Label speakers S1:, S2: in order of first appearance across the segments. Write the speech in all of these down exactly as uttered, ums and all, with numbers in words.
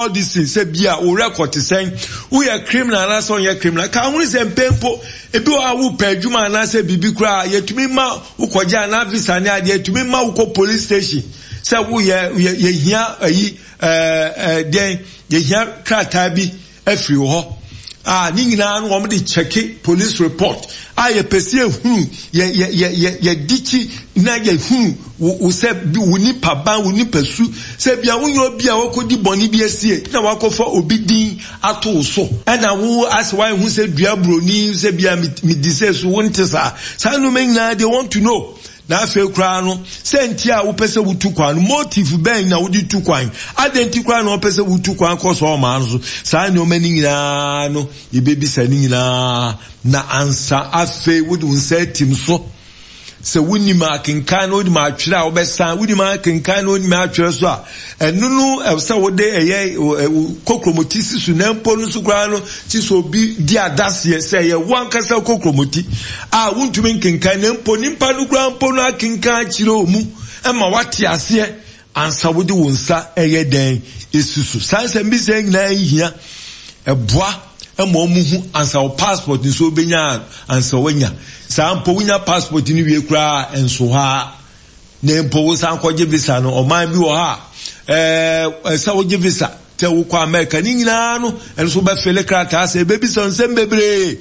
S1: All these things, sɛ bia wo record te sɛn, woyɛ criminal anaasɛ ɔnyɛ criminal. Ka ho sɛ mpɛn mpo ebi wɔ a wopɛ adwuma anaasɛ biribi koraa, yɛtumi ma wokɔgye anaa visa ne adeɛ, yɛtumi ma wokɔ police station sɛ woyɛ yɛhia ayi ɛɛ ɛɛ deɛn, yɛhia krataa bi afiri hɔ a, ne nyinaa no wɔn de kyɛke police report a yɛpɛ sɛ yɛhunu yɛ yɛ yɛ yɛ yɛdi kyi na yɛhunu wo wo sɛ wo nipa ban, wo nipa su, sɛ bia wonyɛ obi a wakɔdi bɔne bi asie na wakɔfa obi din ato wo so, ɛna wo asɛ wayɛ hu sɛ dua buroni sɛ bia medi sɛ so wonte saa. Saa nneɛma nyinaa they want to know. Na afei koraa no, sɛ nti a wopɛ sɛ wotu kwan no, motive bɛn na wode tu kwan, adɛn nti koraa na wɔpɛ sɛ wotu kwan kɔ sɛ ɔmaa no so. Saa nneɛma no nyinaa no yɛbɛbisa ne nyinaa na ansa afei wode wo nsa atim so. Sɛ wonim akenkan na wonim atwerɛ a, wobɛsan wonim akenkan na wonim atwerɛ so a, ɛno no ɛwɔ sɛ wode ɛyɛ kokromoti si so. Na mpo no so koraa no, ti sɛ obi di adaseɛ sɛ ɛyɛ wo ankasa kokromoti a wontumi nkenkan, na mpo nipa no koraa mpo no akenkan akyerɛ mu ɛma wate aseɛ ansa wode wo nsa ɛyɛ dɛn esi so. Saa nsɛm bi sɛ nyinaa hia ɛboa ɛma ɔmo hu ansa wo passport nso wobɛnya, ansa wanya saa mpo wonya passport no wie koraa nso hɔ a, na mpo wo san kɔgye visa no. Ɔman bi wɔ ha ɛɛ ɛsɛ wogye visa sɛ wokɔ America ne nyinaa no, ɛno nso bɛfele krataa sɛ ebebisa nsɛm bebree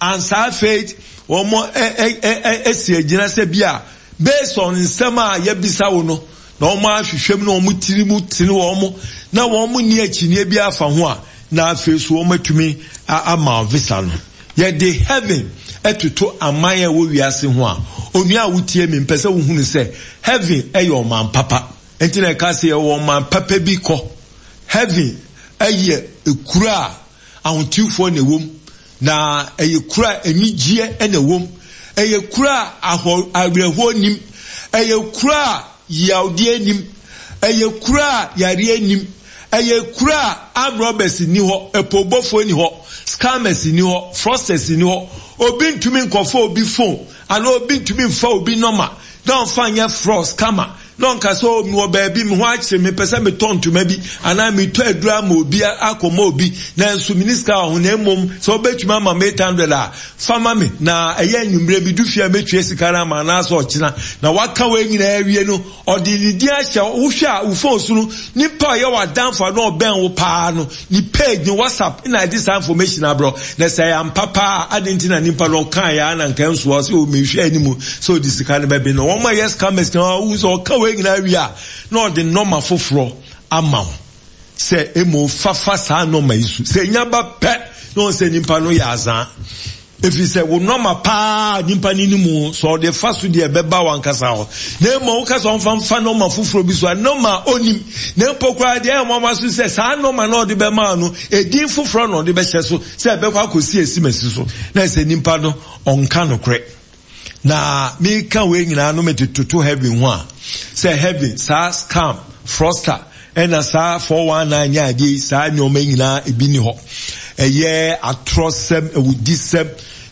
S1: ansa afei wɔn ɛ ɛ ɛ esi agyina sɛ bi a based on nsɛm a yɛbisa wo no, na wɔn ahwehwɛ mu na wɔn tiri mu tene wɔn na wɔn ni akyinie bi afa ho a, na afei so wɔn atumi ama visa no. Yɛde heaven ɛtoto aman a ɛwɔ wiase ho a, onua a wotie mi, mpɛ sɛ wohunu sɛ heaven ɛyɛ ɔman papa. Nti na ɛka sɛ yɛwɔ ɔman papa bi kɔ. Heaven ɛyɛ ekura a ahotifoɔ na ɛwɔ mu, na ɛyɛ kura a anigyeɛ ɛna ɛwɔ mu, ɛyɛ kura a ahɔ awerɛhoɔ nim, ɛyɛ kura a yawdeɛ nim, ɛyɛ kura a yareɛ nim, ɛyɛ kura a armed robbers ni hɔ, ɛpobɔfoɔ ni hɔ, scammers ni hɔ, fraudsters ni hɔ. Obi ntumi nkɔfa obi phone anaa obi ntumi nfa obi nɔma na ɔnfa nyɛ fraud scammer na ɔnka sɛ o mewɔ baabi, me ho akyere me, pɛ sɛ metɔ ntoma bi anaa metɔ aduru ama obi akɔma obi, nanso mini sika wɔ ho, na mmom sɛ wobɛtumi ama me eight hundred a, fa ma me na ɛyɛ anwummerɛ bi du fie a mɛtua sika no ama anaasɛ ɔkyena. Na waka wei nyinaa awie no, ɔde ne din ahyɛ. Wohwɛ a wo phone so no, nipa a ɔyɛ w'adamfo a na ɔbɛn wo paa no ne page ne WhatsApp na ɛde saa information abrɔ. Na sɛ ɛyɛ ampa paa, adi nti na nipa no ɔka yɛ ana nka nso ɔsɛ o mehwɛ anim sɛ ɔde sika no bɛbi no. Wɔn a yɛ scammers na ɔhu sɛ ɔka wei nyinaa wie a, na ɔde nɔma foforɔ ama wo sɛ emu fafa saa nɔma yi so. Sɛ enya ba pɛ na wɔn sɛ nipa no yɛ azan, efi sɛ wo nɔma paa nipa no ni mu sɛ ɔde fa so deɛ ɛbɛba wankasa hɔ. Na emu woka sɛ ɔnfa nfa nɔma foforɔ bi so a, nɔma onim, na mpo koraa deɛ ɛyɛ nwanwa so sɛ saa nɔma na ɔde bɛma no, edin foforɔ na ɔde bɛhyɛ so sɛ ɛbɛkɔ akɔsi esi mɛsi so, na ɛsɛ nipa no ɔnka nokorɛ. Na meka wei nyinaa no, mede toto heaven ho a, sɛ heaven saa scam, fraudster, ɛna saa four one nine ne adeɛ yi, saa nneɛma nyinaa ebi ni hɔ. Ɛyɛ atorɔsɛm, awudisɛm,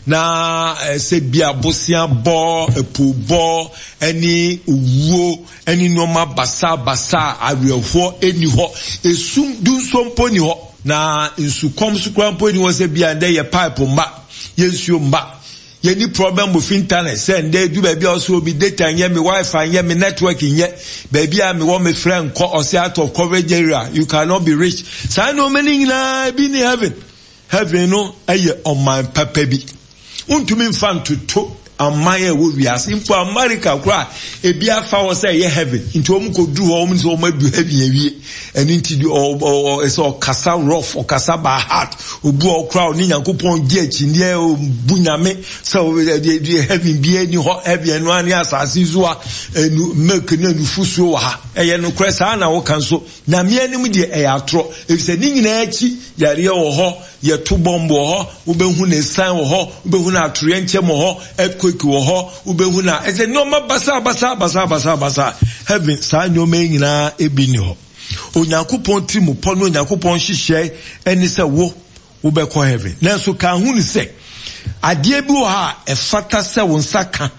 S1: na sɛ bi abosea bɔ, ɛpo bɔ, ɛne owuo ɛne nneɛma basabasa, awerɛhoɔ ɛni hɔ, esum dunso mpo ni hɔ, na nsukɔm so koraa mpo ni hɔ sɛ bia ndɛ yɛ pipe mba, yɛ nsuo mba, yɛni problem with internet sɛ ndɛ edu baabi a ɔsɛ omi data nyɛ, mi WiFi nyɛ, mi network nyɛ, baabi a mi wɔ mi frɛ nkɔ, ɔsɛ out of coverage area, you cannot be rich. Saa nneɛma no nyinaa ebi ni heaven. Heaven no ɛyɛ ɔman papa bi, ntumi nfa ntoto aman a ɛwɔ wiase. Mpo America koraa, ebi afa hɔ sɛ ɛyɛ heaven, nti wɔn kɔ duru hɔ, wɔn sɛ wɔn adu heaven awie. Ɛno nti ɔ ɔ ɛsɛ ɔkasa rough, ɔkasa by heart, obu ɔkora ɔne Nyankopɔn gye akyinnyeɛ, ɔbu Nyame sɛ ɛdeɛ heaven bi ani hɔ. Heaven ɛno ani asase so a ɛnu milk ne nufusuo wɔ ha. Ɛyɛ nokorɛ saa na wɔka nso Nyame anim deɛ ɛyɛ atorɔ, efisɛ ne nyinaa akyi yareɛ wɔ hɔ, yɛto bɔmb wɔ hɔ, wobɛhu ne san wɔ hɔ, wobɛhu no atoreɛ nkyɛm wɔ hɔ, earthquake wɔ hɔ, wobɛhu na ɛsɛ nneɛma basa basa basa basa basa. Heaven saa nneɛma yi nyinaa ebi ni hɔ. Onyankopɔn tiri mu pɔ ne Onyankopɔn hyehyɛ ɛne sɛ wo wobɛkɔ heaven. Nanso ka ho ne sɛ adeɛ bi wɔ ha a ɛfata sɛ wo nsa ka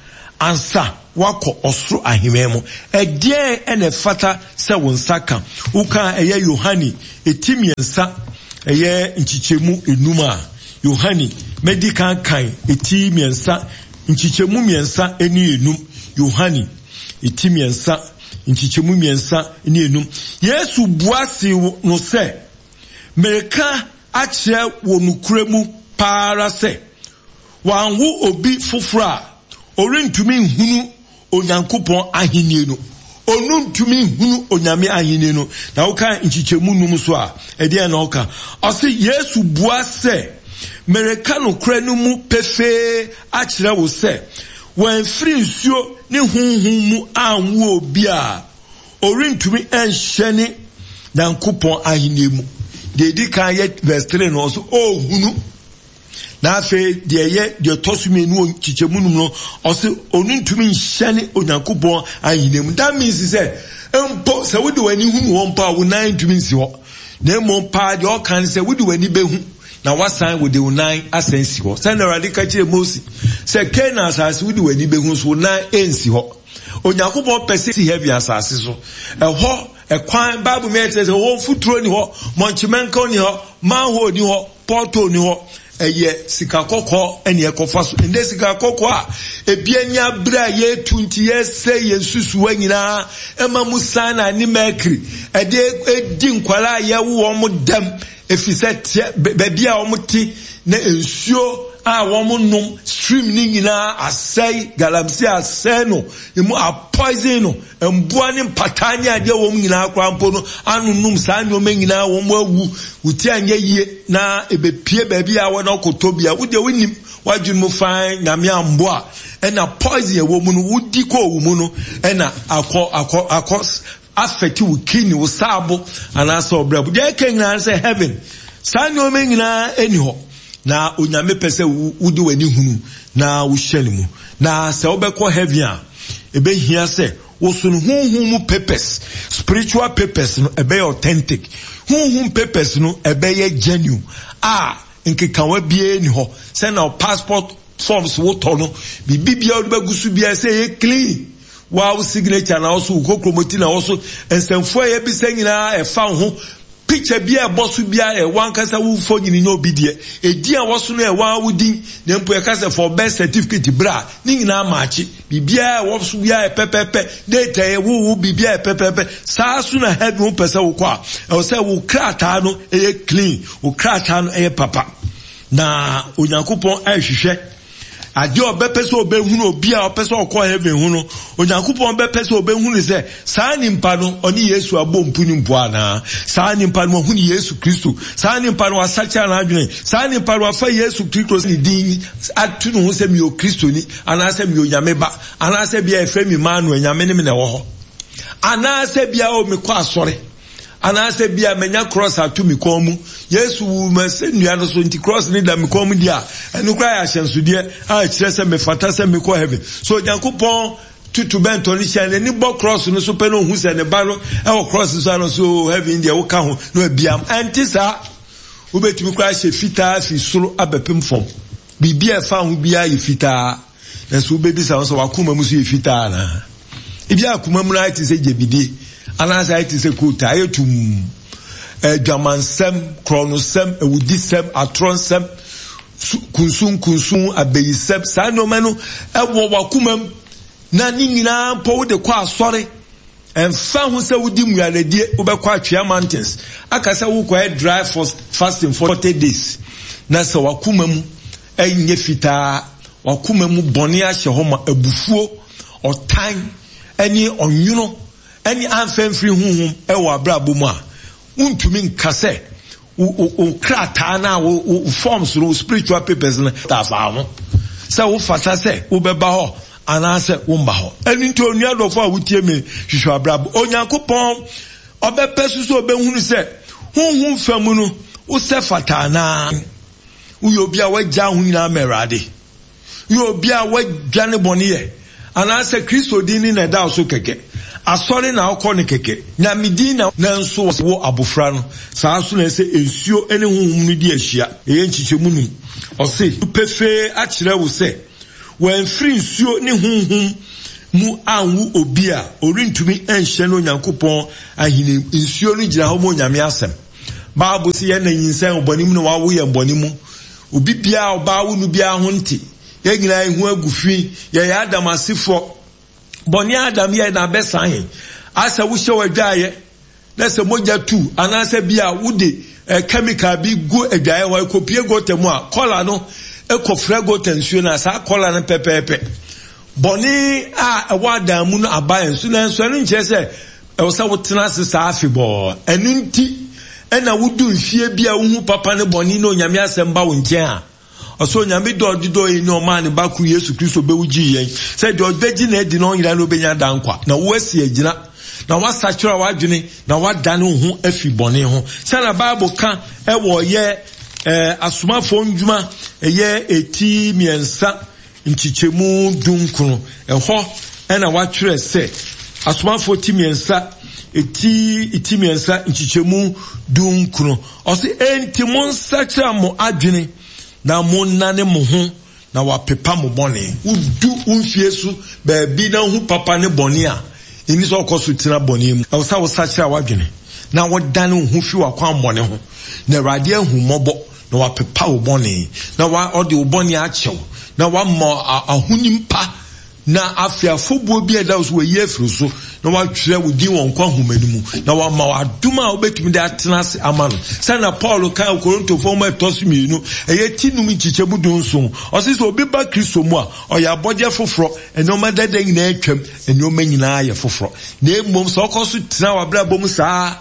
S1: ansa Woakɔ ɔsoro ahemman mu. Ɛdeɛn na ɛfata sɛ wo nsa ka? Woka ɛyɛ Yohane eti mmiɛnsa ɛyɛ nkyekyɛmu enum a, Yohane, mɛdi kan kan eti mmiɛnsa nkyekyɛmu mmiɛnsa ne enum. Yohane eti mmiɛnsa nkyekyɛmu mmiɛnsa ne enum. Yesu bua see no sɛ, Mereka akyerɛ wo nokorɛ mu paa ara sɛ, wɔanwo obi foforɔ a, ɔrentumi nhunu Onyankopɔn ahennie no. Ɔno ntumi nhunu Onyame ahennie no. Na woka nkyekyɛmu num so a, ɛdeɛn na ɔka? Ɔse, Yesu bua sɛ, Mereka nokorɛ no mu pefee akyerɛ wo sɛ, wɔamfiri nsuo ne Honhom mu anwo obi a, ɔrentumi nhyɛne Nyankopɔn ahennie mu. Deɛ ɛdi kan yɛ verse three no, ɔse, ɔhunu. Na afei deɛ ɛyɛ deɛ ɛtɔ so mmienu wɔ nkyekyɛmu num no, ɔse ɔno ntumi nhyɛne Onyankopɔn ahenni mu. That means sɛ mpo sɛ wode w'ani hunu hɔ mpo a, wo nan ntumi nsi hɔ. Na mmom paa deɛ ɔka ne sɛ wode w'ani bɛhu na wasan wode wo nan asan si hɔ. Sɛnea Awurade ka kyerɛɛ Mose sɛ Kanaan asase wode w'ani bɛhu so wo nan nsi hɔ. Onyankopɔn pɛ sɛ si heaven asase so. Ɛhɔ ɛkwan Bible mu ɛkyerɛ sɛ hɔ mfuturo ni hɔ, mɔnkyemɛnka ni hɔ, manhole ni hɔ, pɔtɔ ni hɔ. Ɛyɛ sika kɔkɔɔ ɛne ɛkɔfa so. Ɛnɛ sika kɔkɔɔ a ebi ani abere a yɛretu nti yɛsɛ yɛn susuwa nyinaa ɛma mu cyanide ne mercury ɛde edi nkwadaa a yɛwo wɔn dɛm efisɛ teɛ baabi a wɔn te na nsuo a wɔn nom stream ne nyinaa asɛe, galamsey asɛe no, emu a poison no, mboa ne mpataa ne adeɛ wɔn nyinaa koraa mpo no anonom saa nneɛma nyinaa wɔn awu. Wo ti anyɛ yie na ebepie baabi a wɔn akɔtɔ bia wo deɛ wonim wadwene mu fan nyame amboa ɛna poison ɛwɔ mu no wodi kɔ owu mu no ɛna akɔ akɔ akɔ affect wo kidney, wo saabo anaasɛ ɔbrɛbo. Deɛ ɛka nyinaa sɛ heaven saa nneɛma nyinaa ɛni hɔ. Na Onyame pɛ sɛ wode w'ani hunu na wohyɛ ne mu. Na sɛ wobɛkɔ heaven a, ɛbɛhia sɛ woso no honhom mu papers, spiritual papers no ɛbɛyɛ authentic. Honhom papers no ɛbɛyɛ genuine a nkekawa biara ni hɔ. Sɛ na passport forms wotɔ no, biribi biara wode bɛgu so biara sɛ ɛyɛ clean. Wow signature na wɔso, wo kokromoti na wɔso, nsɛmfua a yɛbisa nyinaa ɛfa wo ho. Picture bi a ɛbɔ so biara ɛwɔ ankasa wo mfonini nyɛ obi deɛ. Edin a ɛwɔ so no ɛwɔ ara wo din. Na mpo yɛka sɛ for birth certificate bra a, ne nyinaa maakye. Biribiara a ɛwɔ so biara yɛ pɛpɛɛpɛ. Date a yɛwoo wo, biribiara yɛ pɛpɛɛpɛ. Saa so na heaven wopɛ sɛ wokɔ a, ɛwɔ sɛ wo krataa no ɛyɛ clean, wo krataa no ɛyɛ papa. Na Onyankopɔn ɛrehwehwɛ adeɛ a ɔbɛpɛ sɛ ɔbɛhunu obi a ɔpɛ sɛ ɔkɔ heaven ho no. Onyankopɔn bɛpɛ sɛ ɔbɛhunu sɛ saa nipa no ɔne Yesu abɔ mpu ne mpo anaa. Saa nipa no wahunu Yesu Kristo. Saa nipa no wasakyera n'adwene. Saa nipa no wafa Yesu Kristo ne din ato ne ho sɛ meyɛ Kristoni anaasɛ meyɛ Onyame ba anaasɛ bia ɛfrɛ me Emmanuel, Nyame ne me na ɛwɔ hɔ, anaasɛ bia o mekɔ asɔre, anaasɛ bia manya cross ato me kɔn mu. Yesu wu ma sɛ nnua no so nti cross ne da me kɔn mu di a, ɛno koraa yɛ ahyɛnsodeɛ a ɛkyerɛ sɛ mefata sɛ mekɔ heaven. So Onyankopɔn tutu bɛntɔ no hyia n'ani bɔ cross no so pɛ na ohu sɛ ne ba no ɛwɔ cross so ano so heaven deɛ woka ho na abiam. Ɛnte saa. Wobɛtumi koraa hyɛ fitaa fi soro abɛpem fam. Biribi a ɛfa ho biara yɛ fitaa. Nanso wobɛbisa ho sɛ wakoma mu so yɛ fitaa anaa? Ebi akoma mu no ayɛ te sɛ gyabidie anaasɛ ayɛ te sɛ koota, ayɛ tumm. Adwamansɛm, korɔnosɛm, awudisɛm, atorɔnsɛm, kunsunkunsun, abayisɛm, saa nneɛma no ɛwɔ wakoma mu na ne nyinaa mpo wode kɔ asɔre. Ɛmfa ho sɛ wodi mmualadie, wobɛkɔ Atwea Mountains aka sɛ wokɔyɛ dry fasting forty days, na sɛ wakoma mu ɛnyɛ fitaa, wakoma mu bɔne ahyɛ hɔ ma abufuo, ɔtan, ɛne ɔnwono, ɛne amfa mfiri honhom ɛwɔ abrabɔ mu a, wontumi nka sɛ wo krataa no a wo forms no, wo spiritual papers no taafa ho sɛ wofata sɛ wobɛba hɔ anaasɛ womba hɔ. Ɛno nti onua dɔfo a wotie me, hwehwɛ abrabɔ. Onyankopɔn ɔbɛpɛ so sɛ ɔbɛhunu sɛ honhom fa mu no wosɛ fata anaa. Woyɛ obi a wagya ho nyinaa ma Awurade. Woyɛ obi a wadwane bɔne yɛ anaasɛ Kristo din ne na ɛda so kɛkɛ. Asɔre na wokɔ no kɛkɛ. Nyame din na nanso wo abofra no. Saa so na ɛsɛ nsuo ne honhom no di ahyia. Ɛyɛ nkyekyɛmu num. Ɔse pefee akyerɛ wo sɛ wɔamfiri nsuo ne honhom mu anwo obi a, ɔrentumi nhyɛ no Onyankopɔn ahenni. Nsuo no gyina hɔ ma Onyame asɛm. Bible sɛ yɛn na nyinsɛn bɔne mu na wawo yɛn bɔne mu. Obi biara ɔbaa wo no biara ho nte. Yɛn nyinaa ehu agu fi. Yɛyɛ Adam asefoɔ. Bɔne Adam yɛ na abɛsan yɛn. Asɛ wohyɛ w'adwaeɛ na sɛ mogya tu anaasɛ bi a wode eh, chemical bi gu adwaeɛ hɔ ɛkɔpie gota mu a, kɔla no ɛkɔfrɛ gota nsuo no a, saa kɔla no pɛpɛɛpɛ. Bɔne a ɛwɔ Adam mu no aba yɛn so, nanso ɛno nkyerɛ sɛ ɛwɔ sɛ wotena ase saa afebɔɔ. Ɛno nti ɛna wodu mfie bi a wohu papa ne bɔne na Onyame asɛm ba wo nkyɛn a, ɔsɛ Onyame dɔ ɔde dɔ yɛn ni ɔmaa ne ba koro Yesu Kristo bɛwu gyee yɛn sɛ deɛ ɔbɛgye no adi na ɔnyera no ɔbɛnya daa nkwa. Na woasi agyina na woasakyera w'adwene na woadane wo ho afi bɔne ho. Sɛnea Bible ka ɛwɔ yɛ eh, asomafoɔ ndwuma ɛyɛ eti mmiɛnsa nkyekyɛmu dunkron, ɛhɔ ɛna watwerɛ sɛ asomafoɔ ti mmiɛnsa eti ti mmiɛnsa nkyekyɛmu dunkron, ɔse enti monsakyera mo adwene na monnane mo ho na wapepa mo bɔne. Wodu wo mfie so baabi na wohu papa ne bɔne a, ɛni sɛ ɔkɔ so tena bɔne mu. Ɛwɔ sɛ wosakyera w'adwene na wodane wo ho fi w'akwammɔne ho, na Awurade ahu mmɔbɔ na wapepa wo bɔne, na ɔde wo bɔne akyɛw, na wama ahonim pa, na afei afɔbuo bi a ɛda wo so wayi afiri so, na watwerɛ wo din wɔ nkwa nhoma no mu, na wama wo adom a wobɛtumi de atena ase ama no. Sɛnea Paul ka wɔ Korintofoɔ nwoma ɛtɔ so mmienu, ɛyɛ ti num nkyekyɛmu du nson, ɔse sɛ obi ba Kristo mu a, ɔyɛ abɔdeɛ foforɔ, nneɛma dada nyinaa atwam, nneɛma nyinaa yɛ foforɔ. Na mmom sɛ ɔkɔ so tena w'abrabɔ mu saa,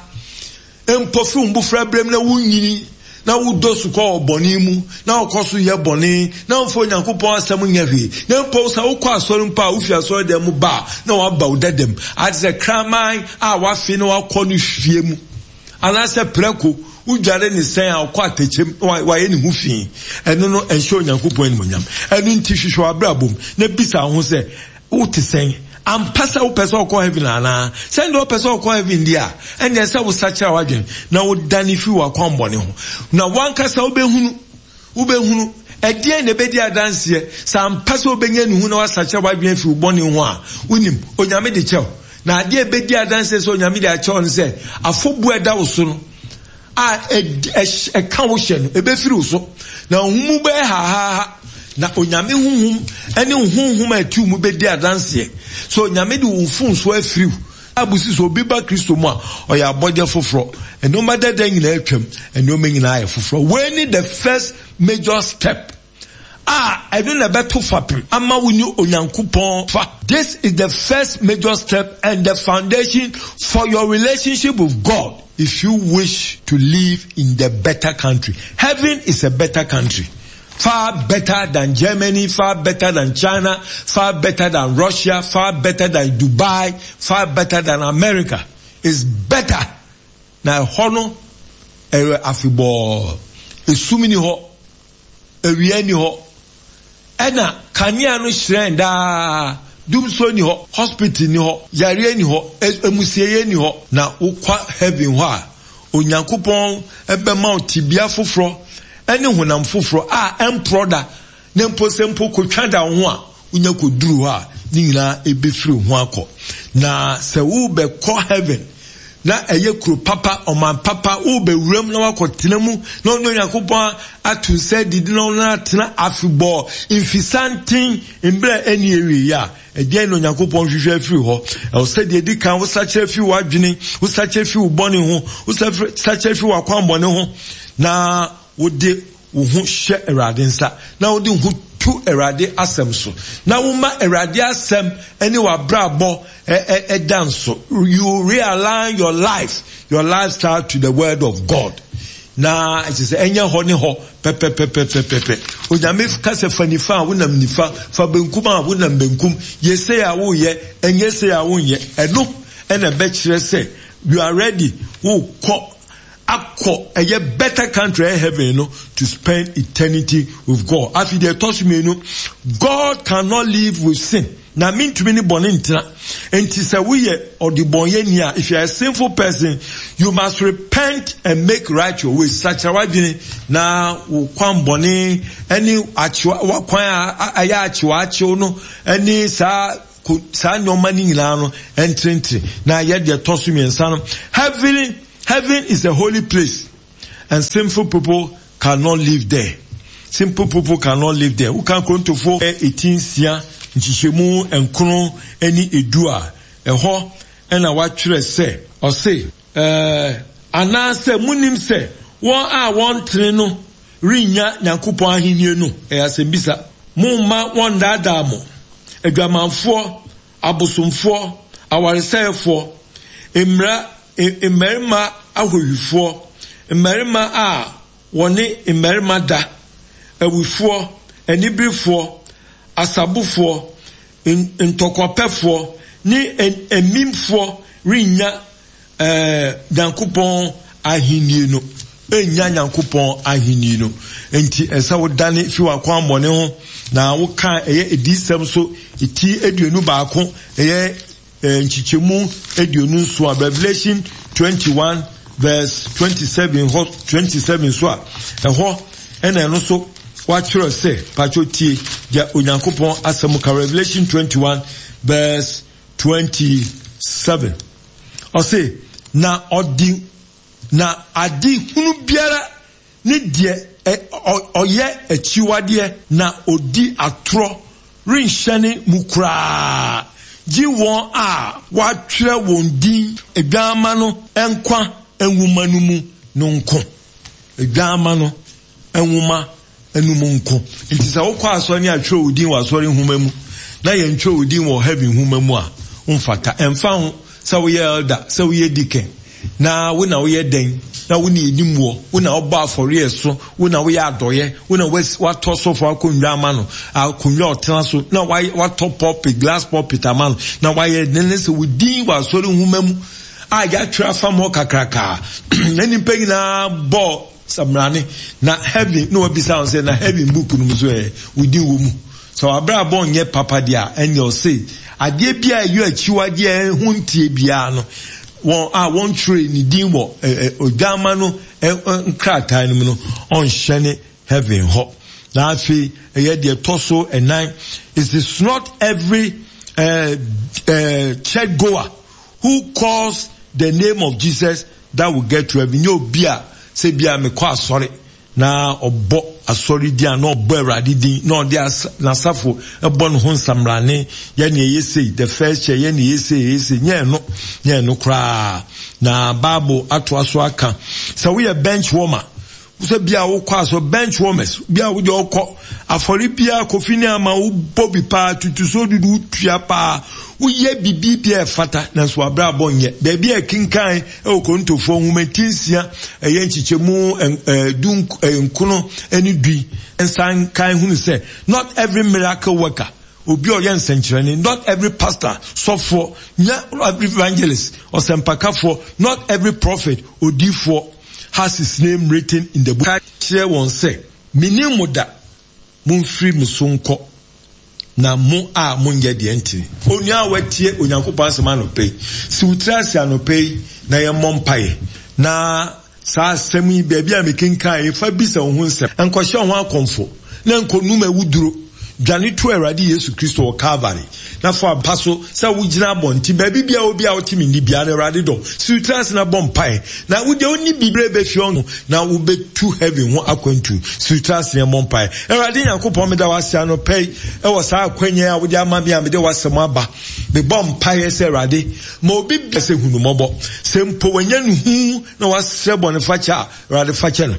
S1: mpo fi wo mbofra berɛm na wonyini, na wodɔ sukɔ wɔ bɔne mu, na wokɔ so yɛ bɔne, na womfa Onyankopɔn asɛm nyɛ hwee, na mpo sɛ wokɔ asɔre mpo a, wofi asɔre dan mu ba a, na waba wo dadam, ate sɛ kraman a wafe na wakɔ no fie mu, anaasɛ prɛko, wodware ne sɛn a ɔkɔ atɛkyɛm na wayɛ ne ho fi. Ɛno no ɛnhyɛ Onyankopɔn animuonyam. Ɛno nti hwehwɛ w'abrabɔ mu na bisa wo ho sɛ, wote sɛn? Ampa sɛ wopɛ sɛ ɔkɔ heaven anaa? Sɛ deɛ wopɛ sɛ ɔkɔ heaven deɛ a, ɛnneɛ sɛ wosakyera w'adwene na wodane firi w'akwammɔne ho. Na wankasa wobɛhunu, wobɛhunu, ɛdeɛn na ɛbɛdi adanseɛ sɛ ampa sɛ wobɛnya ne hu na wasakyera w'adwene afiri wo bɔne ho a, wonim, Onyame de kyɛw. Na adeɛ ɛbɛdi adanseɛ sɛ Onyame de akyɛw no sɛ, afɔbuo a ɛda wo so no, a ɛka wo hyɛ no, ɛbɛfiri wo so. Na wo mu bɛyɛ hahaha. Na Onyame honhom ne wo honhom a ɛte wo mu bɛdi adanseɛ sɛ Onyame de wo mfomsoɔ afiri wo. Bible si sɛ obi ba Kristo mu a, ɔyɛ abɔdeɛ foforɔ. Nneɛma dada nyinaa atwam, nneɛma nyinaa ayɛ foforɔ. Wei ne the first major step a ɛno na ɛbɛto fapem ama wo ne Onyankopɔn fa. This is the first major step and the foundation for your relationship with God if you wish to live in the better country. Heaven is a better country. Far better than Germany, far better than China, far better than Russia, far better than Dubai, far better than America. It's better. Na ɛhɔ no, ɛyɛ afebɔɔ. Esum ni hɔ, awia ni hɔ, ɛna kanea no hyerɛn daa. Dumso ni hɔ, hospital ni hɔ, yareɛ ni hɔ, emusieɛ ni hɔ. Na wokɔ heaven hɔ a, Onyankopɔn ɛbɛma wo tibea foforɔ ɛne honam foforɔ a ɛmporɔ da, na mpo sɛ mpo kotwa da wo ho a, wonya kɔduru hɔ a, ne nyinaa ɛbɛfiri ho akɔ. Na sɛ wobɛkɔ heaven, na ɛyɛ kuro papa, ɔman papa, wobɛwuram na wakɔtena mu, na ɔne Onyankopɔn ato nsa adidi na ɔno atena afebɔɔ mfisanten mmerɛ ɛni awieeɛ a, ɛdeɛn na Onyankopɔn hwehwɛ afiri hɔ? Ɛwɔ sɛ deɛ ɛdi kan, wosakyera firi w'adwene, wosakyera firi wo bɔne ho, wosakyera firi w'akwammɔne ho, na wode wo ho hyɛ Awurade nsa, na wode wo ho to Awurade asɛm so, na woma Awurade asɛm ne w'abrabɔ ɛda nso. You realign your life, your lifestyle to the word of God. Na ɛkyerɛ sɛ ɛnyɛ hɔ ne hɔ pɛpɛpɛpɛpɛpɛ. Onyame ka sɛ fa nifa a wonam nifa, fa benkum a wonam benkum, yɛ sei a woyɛ, ɛnyɛ sei a wonyɛ. Ɛno ɛna ɛbɛkyerɛ sɛ you are ready, wokɔ akɔ ɛyɛ better country ɛyɛ heaven no to spend eternity with God. Afei deɛ ɛtɔ so mmienu, God cannot live with sin. Na mintumi ne bɔne ntena. Enti sɛ woyɛ ɔdebɔnyɛni a, if you are a sinful person, you must repent and make right your ways. Sakyera w'adwene na wo kwan bɔne ɛne akyewa wakwan a ɛyɛ akyewa akyew no ɛne saa Saa nneɛma no nyinaa no ntenetene. Na yɛ deɛ ɛtɔ so mmiɛnsa no, heaven, heaven is a holy place and sinful people cannot live there. Simple people cannot live there. Woka Korintofoɔ eti nsia nkyekyɛmu nkron ne edu a, ɛhɔ ɛna watwerɛ sɛ, ɔse, ɛɛ, anaasɛ munim sɛ wɔn a wɔntene no rennya Nyankopɔn ahenni no? Ɛyɛ asɛmbisa. Momma wɔnnaadaa mo. Adwamanfoɔ, abosomfoɔ, awaresɛefoɔ, mmara, mmarima ahohwifoɔ, mmarima a wɔne mmarima da, awifoɔ, aniberefoɔ, asabofoɔ, ntɔkwapɛfoɔ, ne amimfoɔ rennya eh, Nyankopɔn ahenni no. Ennya Nyankopɔn ahenni no. Enti ɛsɛ wodane fi w'akwammɔne ho na woka ɛyɛ adiyisɛm so ti aduonu baako ɛyɛ nkyekyɛmu aduonu nson a, Revelation twenty-one verse twenty-seven hɔ, twenty-seven so a, ɛhɔ ɛna ɛno so watwerɛ sɛ, patro tie deɛ Onyankopɔn asɛm ka, Revelation twenty-one verse twenty-seven. Ɔse, na ɔde na ade hunu biara ne deɛ ɔyɛ akyiwadeɛ na odi atorɔ renhyɛne mu koraa, gye wɔn a wɔatwerɛ wɔn din Adwamma no nkwa nwoma no mu no nko. Adwamma no nwoma no mu nko. Nti sɛ wokɔ asɔre ne atwerɛ wo din wɔ asɔre nwoma mu na yɛntwerɛ wo din wɔ heaven nwoma mu a, womfata. Ɛmfa ho sɛ woyɛ elder, sɛ woyɛ deacon, na wo na woyɛ dɛn, na wo ne enim wɔ, wo na wobɔ afɔreɛ so, wo na woyɛ adɔyɛ, wo na watɔ sɔfo akonnwa ama no, akonnwa ɔtena so, na watɔ pulpit, glass pulpit ama no, na wayɛ ne ne sɛ wo din wɔ asɔre nwoma mu a yɛatwerɛ afa mɔ kakraka na nnipa nyinaa bɔ samrane na heaven na wabisa wɔn sɛ na heaven book no mu so ɛ wo din wɔ mu. Sɛ wabrabɔ nyɛ papa deɛ a, ɛnyɛ ɔse adeɛ bi a ɛyɛ akyiwadeɛ ho ntie biara no, wɔn a wɔntwerɛ ne din wɔ odwama no nkrataa no mu no, ɔnhyɛne heaven hɔ. Na afei ɛyɛ deɛ ɛtɔ so ɛnan, it is not every uh, uh, church goer who calls the name of Jesus that will get to heaven. Nyɛ obi a sɛ bi a mekɔ asɔre na ɔbɔ asɔre din a na ɔbɔ Awurade din na ɔde n'asafo ɛbɔ ne ho nsamrane, yɛ ne ɛyɛ sei, the first chair, yɛ ne ɛyɛ sei, ɛyɛ sei, nyɛ ɛno, nyɛ ɛno koraa. Na Bible atoa so aka sɛ woyɛ bench warmer, sɛ bia wokɔ asɔ bench warmers, bia wode ɔkɔ afɔre bia kofi ne ama wobɔ bi paa, tutuso dudu wotua paa, woyɛ bibi bia ɛfata, nanso wabrabɔ nyɛ. Baabi a ɛkenkan ɛwɔ Korintofoɔ nwoma ti nsia ɛyɛ nkyekyɛmu du nkono ne du nsan kan hunu sɛ not every miracle worker, obi a ɔyɛ nsɛnkyerɛnne, not every pastor, sɔfoɔ, nyɛ every evangelist, ɔsɛmpakafoɔ, not every prophet, odiifoɔ has his name written in the book. Ka kyerɛ wɔn sɛ, mennim mo da, momfiri me so nkɔ, na mo a monyɛ deɛ ntene. Onua a watie Onyankopɔn asɛm anɔpa yi, si wo tiri ase anɔpa yi na yɛmmɔ mpaeɛ. Na saa asɛm yi, baabi a mekenkan yi, fa bisa wo ho nsɛm. Nkɔhyɛ wo ho akɔmfo, na nkɔnum awuduro. Dwane to Awurade Yesu Kristo wɔ Calvary, na fa mpa so sɛ wogyina abɔnten baabi biara obi a wote me nni biara no, Awurade dɔ. Si wo tiri ase na bɔ mpaeɛ, na wo deɛ wonni biribi bɛfie ɔno na wobɛtu heaven ho akwantu. Si wo tiri ase na bɔ mpaeɛ. Awurade Nyankopɔn, meda wo ase anɔpa yi ɛwɔ saa akwanya a wode ama me a mede w'asɛm aba. Mebɔ mpaeɛ sɛ Awurade, ma obi bia sɛ hunu mmɔbɔ. Sɛ mpo wanya ne hu na wasrɛ bɔnefakyɛ a, Awurade fakyɛ no.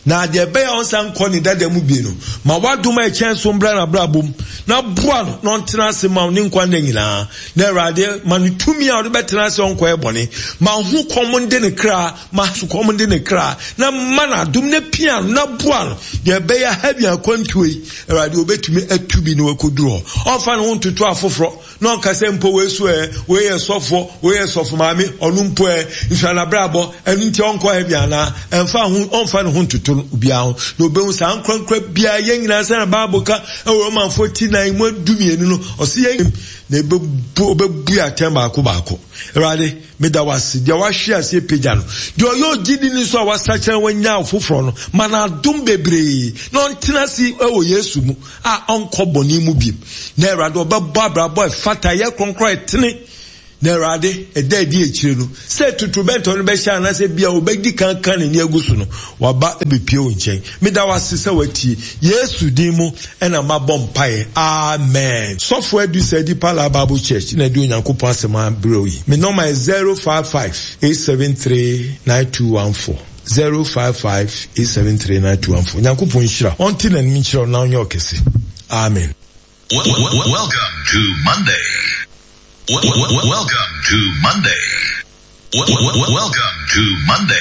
S1: Na deɛ ɛbɛyɛ a ɔnsan nkɔ ne dada mu bio no, ma w'adom a ɛkyɛn so mbra n'abrabɔ mu, na boa no na ɔntena ase ma wo ne nkwa nna nyinaa. Na Awurade, ma no tumi a ɔde bɛtena ase ɔnkɔyɛ bɔne. Ma ho kɔm nde ne kra, ma sukɔm nde ne kra, na ma no adom na pia no na boa no. Deɛ ɛbɛyɛ heaven akwantuo yi, Awurade obɛtumi atu bi na wakɔduru hɔ. Ɔmfa ne ho ntoto afoforɔ, na ɔnka sɛ mpo wei so ɛ, wei yɛ sɔfoɔ, wei yɛ sɔfo maame, ɔno mpo ɛ, nso anabrabɔ, ɛno nti ɔnkɔ heaven anaa? Ɛmfa ho, ɔmfa ne ho ntoto no obiara ho. Na obehu saa nkorankora biara, yɛn nyinaa sɛ na Bible ka ɛwɔ Romanfoɔ ti nan mu du mmienu no, ɔse yɛn na ɛbɛbu ɔbɛbu atɛn baako baako. Awurade, meda wo ase, deɛ wahwe aseɛ pagya no, deɛ ɔyɛ ogyidini nso a wasakyera wanya foforɔ no, ma no adom bebree na ɔntena ase wɔ Yesu mu a ɔnkɔ bɔne mu biem. Na Awurade, ɔbɛbɔ abrabɔ a ɛfata, ɛyɛ kronkron, ɛtene. Na Awurade, ɛda adi akyire no, sɛ totorobɛnto no bɛhyɛ anaasɛ bia ɔbɛdi kan ka n'ani agu so no, waba abɛpue wo nkyɛn. Meda wo ase sɛ watie. Yesu din mu na mabɔ mpaeɛ. Amen. Sɔfo Adu Sadi Pala Bible Church na ɛde Onyankopɔn asɛm abrɛ wo yi. Me nɔma yɛ zero five five eight seven three nine two one four, zero five five eight seven three nine two one four. Nyankopɔn nhyira wo, ɔnte n'anim nkyerɛ wo na ɔnyɛ wo kɛse. Amen.
S2: Welcome to Monday. Welcome to Monday. Welcome to Monday.